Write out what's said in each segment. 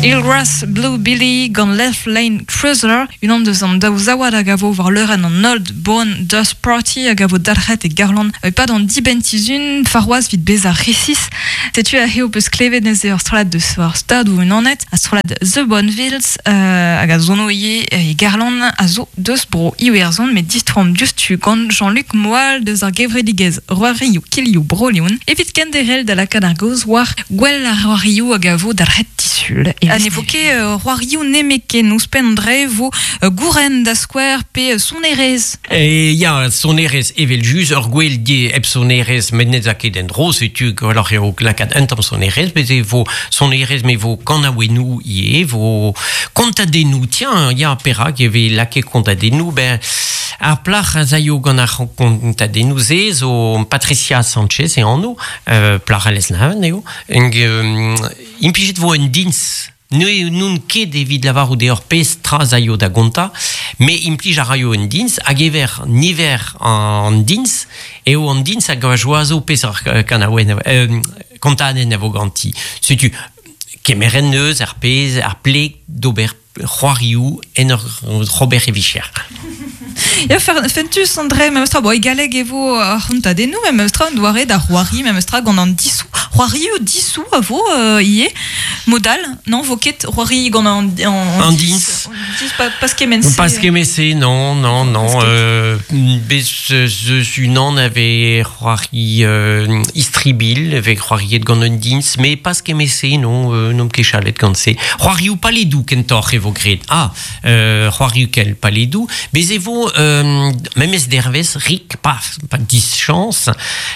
Eelgrass Blue Billy gant Left Lane Cruiser, unan deus an daou zaouad a gavo war leurenn an Old Bone Dust Party hag a vo dalc'het e Garland e-pad an dibenn-sizhun warc'hoazh 'vit bezañ resis. Setu aze ho peus klevet neuze ur strollad deus ar Stadoù-Unanet, ar strollad The Bonvilles hag a sono ivez e Garland a zo deus bro Iwerzhon met distroomp diouzhtu gant Jean-Luc Moal deus ar gevredigezh C'hoarioù Kilioù Bro-Leon evit kenderc'hel da lakaat ar gaoz war gwell ar c'hoarioù hag a vo dalc'het disul. Ha ne vo ket c'hoarioù nemetken ouzhpenn an dra e vo gouren da skouer pe sonerezh. Ya, sonerezh evel-just, ur gwel die hep sonerezh met ne 'z a ket en-dro, setu gwelloc'h eo lakaat un tamm sonerezh, bez e vo sonerezh me vo kanaouennoù ivez, vo kontadennoù, tiens, ya, perak e vez lakaet kontadennoù, ben ar plac'h a zaio gant ar kontadennoù-se zo Patricia Sanchez e anv, plac'h a Lesneven eo, hag implijet vo un dins Ne n'on ket evit lavarout deoc'h pezh tra 'z aio da gontañ, me implij a raio un dins hag ever niver an dins eo an dins hag a joazo peseurt kanaouenn kontadenn a vo ganti. Setu kemeret neus ar pezh ar pleg d'ober c'hoarioù en ur ober e vicher. Ya, fentus an dre memestra. Bon, e galleg e vo ar c'hontadennoù memestra, un doare da c'hoari memestra gant an disou. C'hoarioù disou a vo ivez. Modal, non, vo ket c'hoari gant an, an, an dins. Dis, pas, pas kement-se. Pas kement-se, non, non, non. Bez eus unan avait c'hoari istribil, avait c'hoariet gant un dins, mais pas kement-se, non, n'omp ket chalet gant se. C'hoarioù paledoù kentoc'h e vo graet. Ah, c'hoarioù kel paledoù. Bez e vo memes dervezh rik, pas, pas dischañs,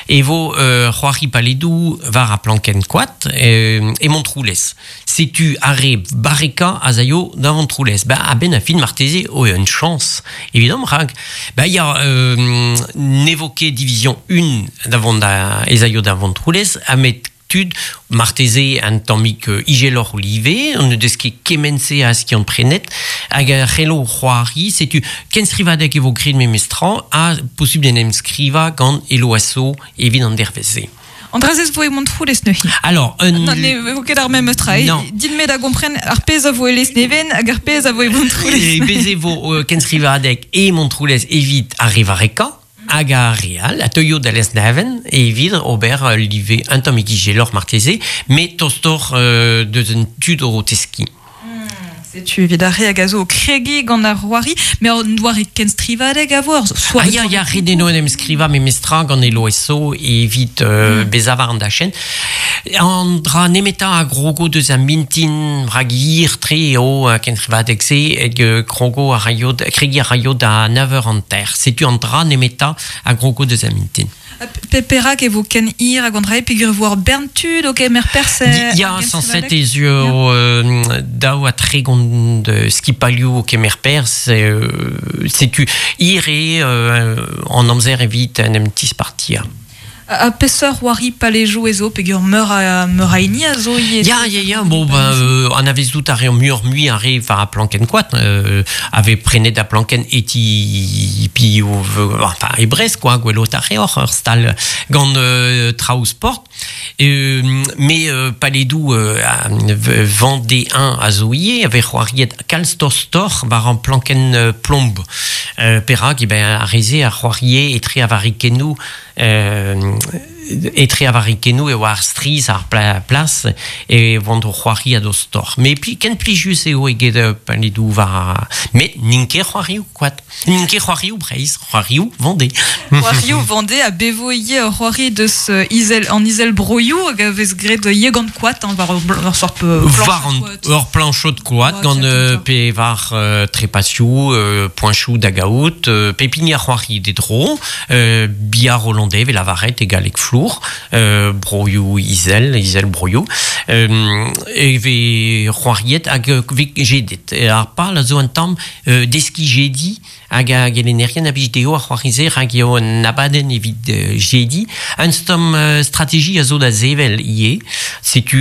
e vo c'hoari paledoù war ar plankenn koad e Montroulez. Setu ar re barrekañ az aio da Vontroulez. Ba, a-benn ar fin marteze o un chañs evidomp rak ba ya ne vo ket division 1 da vont da ez aio da Vontroulez ha met tud marteze un tammig izeloc'h live, on ne deus ket kement-se a skiant-prenet, hag a c'hello c'hoari, setu kenstrivadeg e vo graet memestra ha posubl d'en em skrivañ gant Eloasso evit an dervezh-se. An dra-se vo e Montroulez neuze. Alors, un... Non, ne vo ket ar memes tra. Non. Din-me da gompren ar pezh a vo e Lesneven hag ar pezh a vo e Montroulez. E bez e vo kenstrivadeg e Montroulez evit ar re varrekañ hag ar re all a teuio da Lesneven evit ober ul live un tammig izeloc'h marteze, met tostoc'h deus un tud o teskiñ. Setu evit ar re hag a zo o kregiñ gant ar c'hoari, met an doare kenstrivadeg a vo ur soare. Ah ya, ya, ret eo en em skrivañ memestra gant LOSO evit bezañ war an dachenn. An dra nemetañ a grogo deus ar mintin rak hir-tre eo kenstrivadeg-se hag krogo a raio, kregiñ a raio da nav eur hanter. Setu an dra nemetañ a grogo deus ar mintin. Perak e vo ken hir hag an dra peogwir e vo ur bern tud o kemer perzh Ya, sañset ez eo 32 skipailhoù o kemer perzh. Setu hir eo an amzer evit en em tispartiañ. Ha peseurt c'hoari palejoù ez zo peogwir meur a, meur a hini a zo ivez? Ya, ya, ya, bon, ben, anavezout a reomp muioc'h-mui ar re war ar plankenn koad, a vez prenet ar plankenn e ti piv, enfin, e Brest, quoi, gwelout a reoc'h ur stal gant traoù sport. Mais paledoù Vendée 1 a zo ivez, a vez c'hoariet kalz tostoc'h war an plankenn plomb. Perak, eh ben, ar re-se a c'hoarie etre ar varrikennoù Etre ar varrikennoù e oa ar strizh ar plas e oant o c'hoari a-dostoc'h. Met ken plijus eo eget paledoù war... Met n'int ket c'hoarioù koad. N'int ket c'hoarioù Breizh, c'hoarioù Vendée. C'hoarioù Vendée ha bevo ivez ur c'hoari deus izel, an izel-broioù hag a vez graet ivez gant koad, hein, war ur sort War an, ur plañchod koad gant pe war trepasioù, poeñchoù da gaout, pep hini a c'hoari d'e dro. Bia Rolandais vez lavaret e galleg flour, broioù izel, izel broioù, e vez c'hoariet hag vez jedet. Ar pal a zo un tamm deskiñ jediñ hag ar gelennerien a blij dezho ar c'hoari-se rak eo un abadenn evit jediñ. Un tamm strategie a zo da sevel ivez. Setu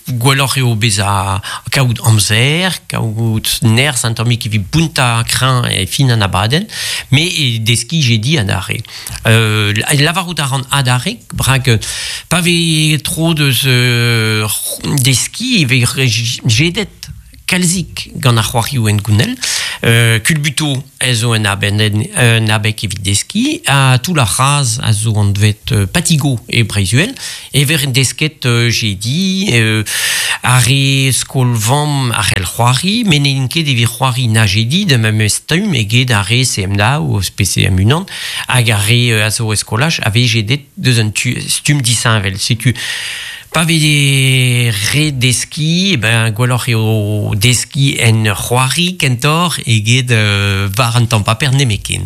gwelloc'h eo bezañ kaout amzer, kaout nerzh un tammig evit bountañ kreñv e fin an abadenn, met e deskiñ jediñ adarre. Lavarout a ran adarre, rak pa vez tro deus deskiñ e vez jedet. kalzik gant ar c'hoarioù en gounel. Kulbuto a zo un aben, un abeg evit deski, ha tout ar c'hraz a zo anvet Patigo e Breizh-Uhel, e ver desket jedi, ar re skol-vamm a c'hell c'hoari, met n'int ket evit c'hoari na jedi da memes stumm eget ar re CM2 ou PCM unan, hag ar re a zo e skolaj a vez jedet deus un tu, stumm disheñvel. Setu pa vez re deski, ben gwelloc'h eo deski en c'hoari kentoc'h eget war an tamm paper nemetken.